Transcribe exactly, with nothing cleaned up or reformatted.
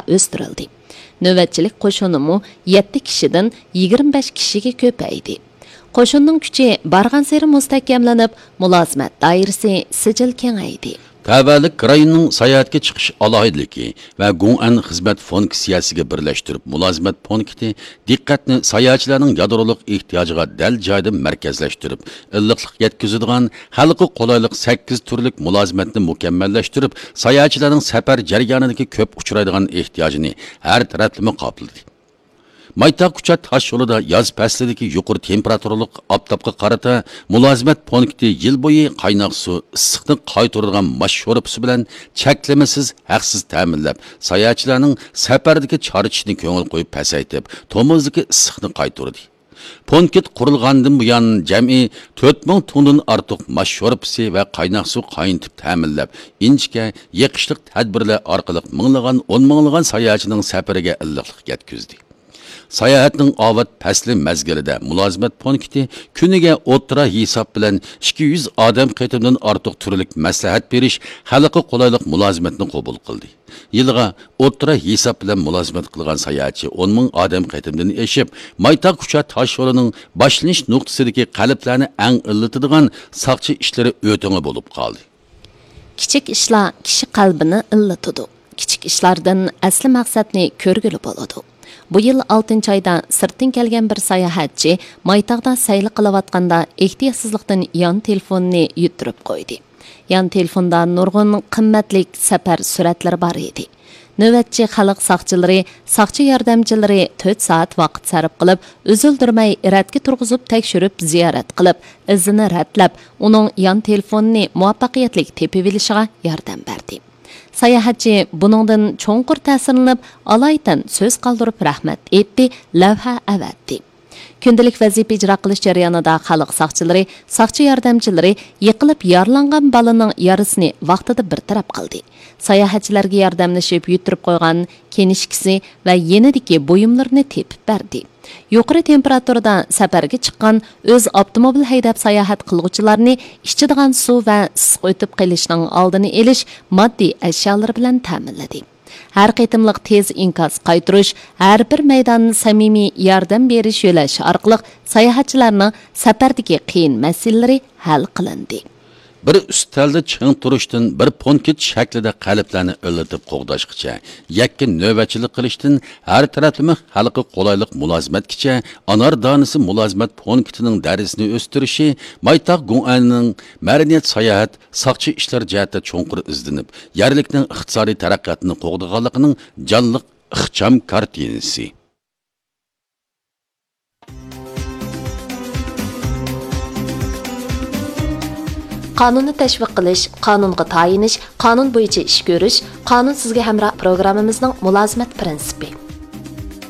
ئۆستۈرۈلدى. نۆۋەتچىلىك قوشۇنىمۇ يەتتە كىشىدىن يىگىرمە بەش كىشىگە كۆپەيدى. قوشۇننىڭ كۈچى بارغانسېرى مۇستەھكەملىنىپ، مۇلازىمەت دائىرىسى سىجىل كېڭەيدى. تەۋەلىك رايوننىڭ ساياھەتكە چىقىش ئالاھىدىلىكى ۋە گۇڭئەن خىزمەت فۇنكسىيەسىگە بىرلەشتۈرۈپ، مۇلازىمەت پونكىتى دىققەتنى ساياھەتچىلەرنىڭ يادرولۇق ئېھتىياجىغا دەل جايىدا مەركەزلەشتۈرۈپ، ئىللىقلىق يەتكۈزىدىغان، خەلققە قولايلىق سەككىز تۈرلۈك مۇلازىمەتنى مۇكەممەللەشتۈرۈپ، ساياھەتچىلەرنىڭ سەپەر جەريانىدىكى كۆپ ئۇچرايدىغان ئېھتىياجىنى ھەر تەرەپلىمە قاپلىدى. مايتاغ كۇچا تاش يولىدا ياز پەسلىدىكى يۇقىرى تېمپېراتۇرىلىق ئاپتاپقا قارىتا مۇلازىمەت پونكىتى يىل بويى قايناق سۇ، ئىسسىقنى قايتۇرىدىغان ماش شورپىسى بىلەن چەكلىمىسىز ھەقسىز تەمىنلەپ، ساياھەتچىلەرنىڭ سەپەردىكى چارچىشىنى كۆڭۈل قويۇپ پەسەيتىپ، تومۇزدىكى ئىسسىقنى قايتۇردى. پونكىت قۇرۇلغاندىن بۇيان جەمئىي تۆت مىڭ تۇڭدىن ئارتۇق ماش شورپىسى ۋە قايناق سۇ قاينىتىپ تەمىنلەپ، ئىنچىكە، يېقىشلىق تەدبىرلەر ئارقىلىق مىڭلىغان، ئون مىڭلىغان ساياھەتچىنىڭ سەپىرىگە ئىللىقلىق يەتكۈزدى. ساياھەتنىڭ ئاۋات پەسلى مەزگىلىدە مۇلازىمەت پونكىتى كۈنىگە ئوتتۇرا ھېساب بىلەن ئىككى يۈز ئادەم قېتىمدىن ئارتۇق تۈرلۈك مەسلىھەت بېرىش، خەلققە قولايلىق مۇلازىمەتنى قوبۇل قىلدى. يىلىغا ئوتتۇرا ھېساب بىلەن مۇلازىمەت قىلغان ساياھەتچى ئون مىڭ ئادەم قېتىمدىن ئېشىپ، مايتاغ كۇچا تاش يولىنىڭ باشلىنىش نۇقتىسىدىكى قەلبلەرنى ئەڭ ئىللىتىدىغان ساقچى ئىشلىرى ئۆتىڭى بولۇپ قالدى. كىچىك ئىشلار كىشى قەلبىنى ئىللىتىدۇ. كىچىك ئىشلاردىن ئەسلى مەقسەتنى كۆرگىلى بولىدۇ. بۇ يىل ئالتىنچى ئايدا سىرتتىن كەلگەن بىر ساياھەتچى مايتاغدا سەيلە قىلىۋاتقاندا ئېھتىياتسىزلىقتىن يان تېلېفونىنى يۈتتۈرۈپ قويدى. يان تېلېفوندا نۇرغۇن قىممەتلىك سەپەر سۈرەتلىرى بار ئىدى. نۆۋەتچى خەلق ساقچىلىرى، ساقچى ياردەمچىلىرى تۆت سائەت ۋاقىت سەرپ قىلىپ، ئۈزۈلدۈرمەي رەتكە تۇرغۇزۇپ تەكشۈرۈپ، زىيارەت قىلىپ، ئىزىنى رەتلەپ، ئۇنىڭ يان تېلېفونىنى مۇۋەپپەقىيەتلىك تېپىۋېلىشىغا ياردەم بەردى. ساياھەتچى بۇنىڭدىن چوڭقۇر تەسىرلىنىپ، ئالايىتەن سۆز قالدۇرۇپ رەھمەت ئېيتتى، لەۋھە ئەۋەتتى. كۈندىلىك ۋەزىپە ئىجرا قىلىش جەريانىدا خەلق ساقچىلىرى، ساقچى ياردەمچىلىرى يىقىلىپ يارىلانغان بالىنىڭ يارىسىنى ۋاقتىدا بىر تەرەپ قىلدى. ساياھەتچىلەرگە ياردەملىشىپ يۈتتۈرۈپ قويغان كىنىشكىسى ۋە يېنىدىكى بۇيۇملىرىنى تېپىپ بەردى. يۇقىرى تېمپېراتۇرىدا سەپەرگە چىققان، ئۆز ئاپتوموبىل ھەيدەپ ساياھەت قىلغۇچىلارنى ئىچىدىغان سۇ ۋە ئىسسىق ئۆتۈپ قېلىشنىڭ ئالدىنى ئېلىش ماددىي ئەشيالىرى بىلەن تەمىنلىدى. ھەر قېتىملىق تېز ئىنكاس قايتۇرۇش، ھەر بىر مەيدان سەمىمىي ياردەم بېرىش يۆلەش ئارقىلىق ساياھەتچىلەرنىڭ سەپەردىكى قىيىن مەسىلىلىرى ھەل قىلىندى. بىر ئۈستەلدە چىڭ تۇرۇشتىن بىر پونكىت شەكلىدە قەلبلەرنى ئىللىتىپ قوغداشقىچە، يەككە نۆۋەتچىلىك قىلىشتىن ھەر تەرەپلىمە خەلققە قولايلىق مۇلازىمەتكىچە، ئانار دانىسى مۇلازىمەت پونكىتىنىڭ دەرىجىسىنى ئۆستۈرۈشى مايتاغ گۇڭئەننىڭ مەدەنىيەت ساياھەت، ساقچى ئىشلار جەھەتتە چوڭقۇر ئىزدىنىپ، يەرلىكنىڭ ئىقتىسادىي تەرەققىياتىنى قوغدىغانلىقىنىڭ جانلىق ئىخچام كارتىنىسى. قانۇننى تەشۋىق قىلىش، قانۇنغا تايىنىش، قانۇن بويىچە ئىش كۆرۈش، قانۇن سىزگە ھەمراھ پروگراممىمىزنىڭ مۇلازىمەت پىرىنسىپى.